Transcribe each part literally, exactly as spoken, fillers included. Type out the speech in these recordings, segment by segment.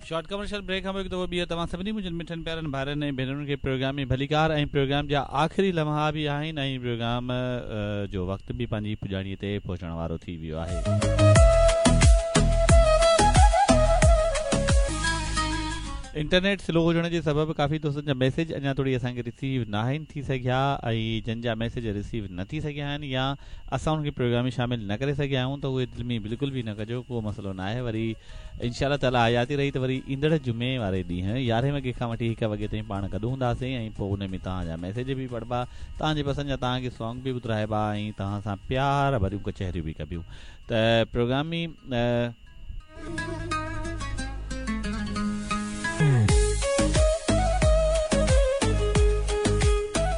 Short commercial break کان پوءِ هڪ دفعو ٻيهر توهان سڀني منهنجن مٺن پيارن ڀائرن ۽ ڀينرن کي پروگرام ۾ ڀليڪار ۽ پروگرام جا آخري لمحا به آهن ۽ پروگرام جو وقت به پنهنجي پڄاڻيءَ تي پهچڻ وارو ٿي ويو آهي. انٽرنيٽ سلو هجڻ جي سبب ڪافي دوستن جا ميسيج اڃا ٿوري اسان کي رسيو نه آهن ٿي سگهيا ۽ جن جا ميسيج رسيو نه ٿي سگهيا آهن يا اسان انهن کي پروگرام ۾ شامل نه ڪري سگهيا آهيون ته اهي دل ۾ بلڪل به نه ڪجو، ڪو مسئلو نه آهي. وري انشاء الله تعاليٰ حياتي رهي ته وري ايندڙ جمعي واري ڏينهن يارهين وڳي کان وٺي هڪ وڳي تائين پاڻ گڏ هونداسين ۽ پوءِ ان ۾ توهان جا ميسيج به پڙهبا، توهان جي پسند جا توهان کي سانگ به ٻڌرائبا ۽ توهان سان پيار ڀريون ڪچهريون به ڪبيون. ته پروگرام ۾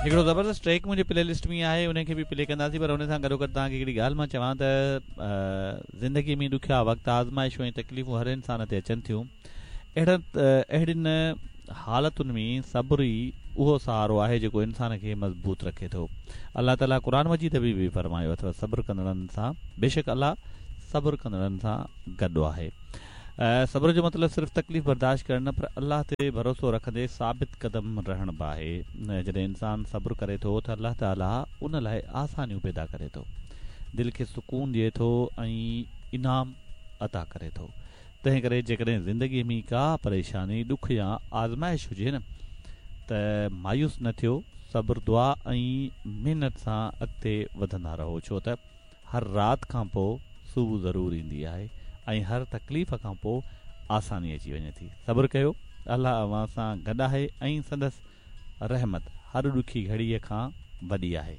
هڪڙو زبردست ٽريڪ منهنجي پلي لسٽ ۾ آهي، ان کي به پلي ڪنداسين. پر ان سان گڏو گڏ توهان کي هڪڙي ڳالهه مان چوان ته زندگيءَ ۾ ڏکيا وقت، آزمائشون ۽ تڪليفون هر انسان تي اچن ٿيون. اهڙن اهڙين حالتن ۾ صبر ئي اهو سهارو آهي جيڪو انسان کي مضبوط رکي ٿو. الله تعاليٰ قرآن مجيد ۾ به فرمايو اٿو صبر ڪندڙن سان بيشڪ الله صبر ڪندڙن سان گڏ آهي. صبر جو مطلب صرف تڪليف برداشت ڪرڻ نه پر الله تي ڀروسو رکندي ثابت قدم رهڻ به آهي. جڏهن انسان صبر ڪري ٿو ته الله تعاليٰ ان لاءِ آسانيون پيدا ڪري ٿو، دل کي سڪون ڏئي ٿو ۽ انعام عطا ڪري ٿو. تنهن ڪري جيڪڏهن زندگيءَ ۾ ڪا پريشاني، ڏک يا آزمائش هجي نه ته مايوس نه ٿيو، صبر، دعا ۽ محنت سان اڳتي وڌندا رهو، ڇو ته هر رات کان پوءِ صبح ضرور ايندي آهي ۽ هر تڪليف کان پوءِ آساني اچي وڃي ٿي. صبر ڪيو، الله اوهان سان گڏ آهي ۽ سندس رحمت هر ڏکي گهڙيءَ کان وڏي آهي.